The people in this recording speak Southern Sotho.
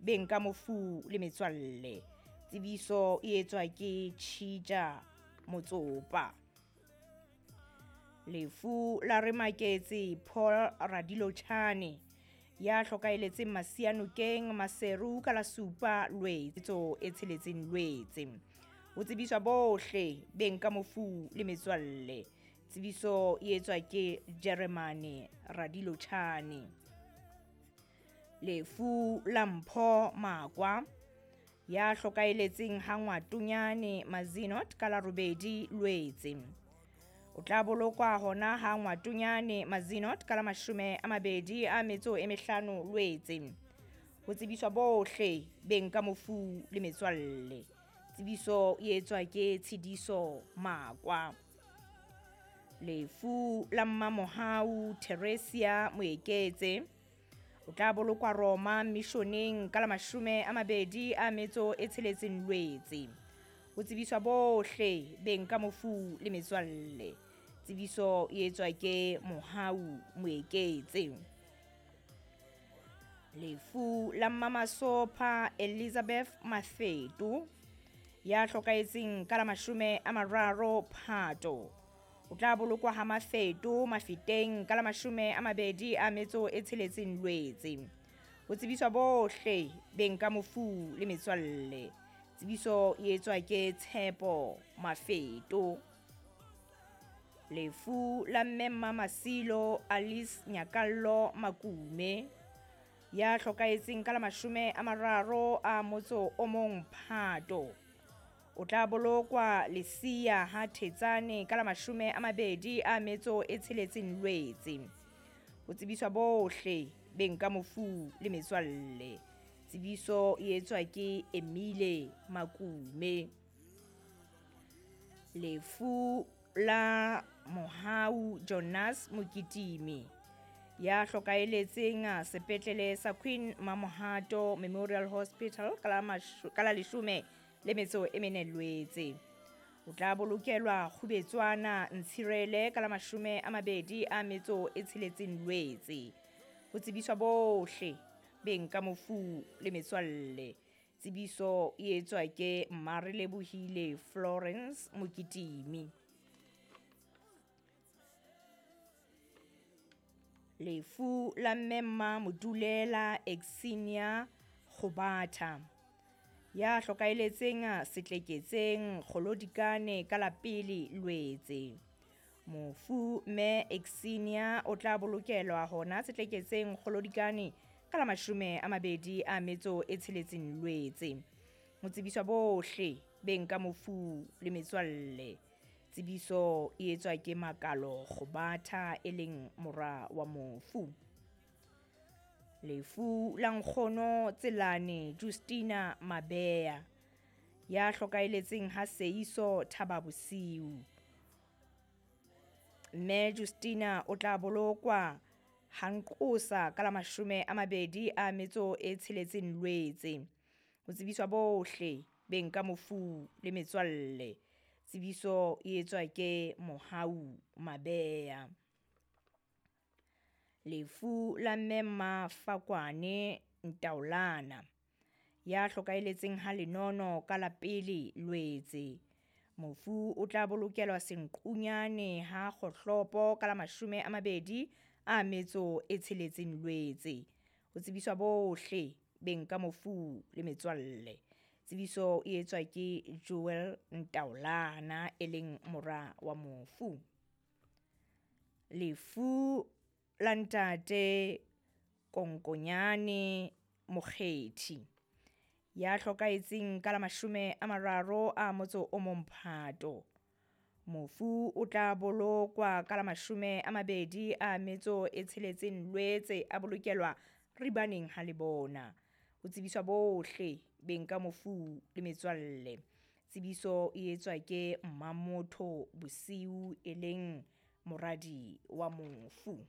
beng ka mofu le metswalle. Tsebiso e etswa ke Tjhitja Motsopa. Lefu la Remaketse Paul Radilochane ya hlokaeletseng Masianokeng Maseru ka la 7 Lwetse e 6 Lwetse. Ho tsebiswa bohle beng ka mofu le metswalle. Tsebiso e etswa ke Jeremane Radilochane. Lefu la Mpho Makwa ya hlokaeletseng ha Ngwatonyane Mazinot ka la 8 Lwetse. O tla bolokwa hona ha Ngwatonyane Mazinot ka la 25 Lwetse. Ho tsebiswa bohle beng ka mofu le metswalle. Tsebiso e etswa ke Tshidiso Makwa. Lefu la Mmamohau Theresia Moeketse o tla bolokwa Roma Missioneng ka la 26 Lwetse. Ho tsebiswa bohle beng ka mofu le metswalle. Tsebiso e etswa ke Mohau Moeketse. Lefu la Mmamasopha Elizabeth Mafeto ya hlokaetseng ka la 30 Phato. O tla bolokwa ha Mafeto Mafeteng ka la 26 Lwetse. Ho tsebiswa bohle beng ka mofu le metswalle. Tsebiso e etswa ke Tshepo Mafeto. Lefu la Mme Mmamasilo Alice Nyakallo Makume ya hlokaetseng ka la 31 Phato. O tla bolokwa Lesia ha Thetsane ka la 26 Lwetse. Ho tsebiswa bohle beng ka mofu le metswalle. Tsebiso e etswa ke Emile Makume. Lefu la Mohau Jonas Mokitimi ya hlokaeletseng sepetlele sa Queen Mamohato Memorial Hospital ka la 14 Lwetse. O tla bolokelwa Kgubetswana Ntshirele ka la 26 Lwetse. Ho tsebiswa bohle beng ka mofu le metswalle. Tsebiso e etswa ke Mmarelebohile Florence Mokitimi. Lefu la Mmemma Modulela Exinia Kgobatha ya hlokaeletseng setleketseng Kgolodikane ka la 1 Lwetse. Mofu Mme Exinia o tla bolokelwa hona setleketseng Kgolodikane ka la 26 Lwetse. Ho tsebiswa bohle beng ka mofu le metswalle. Tsebiso e etswa ke Makalo Kgobatha e leng mora wa mofu. Lefu la Nkgono Tselane Justina Mabea ya hlokaeletseng ha Seiso Thaba Bosiu. Mme Justina o tla bolokwa ha Nqosa ka la 26 Lwetse. Ho tsebiswa bohle beng ka mofu le metswalle. Tsebiso e etswa ke Mohau Mabea. Lefu la Mmemma Fakwane Ntaolana ya hlokaeletseng ha Lenono ka la 1 Lwetse. Mofu o tla bolokelwa Senqunyane ha Kgohlopo ka la 26 Lwetse. Ho tsebiswa bohle beng ka mofu le metswalle. Tsebiso e etswa ke Joel Ntaolana e leng mora wa mofu. Lefu la Ntate Konkonyane Mokgethi ya hlokaetseng ka la 31 Phato. Mofu o tla bolokwa ka la 26 Lwetse a bolokelwa Ribaneng ha Lebona. Ho tsebiswa bohle beng ka mofu le metswalle. Tsebiso e etswa ke Mmamotho Bosiu e leng moradi wa mofu.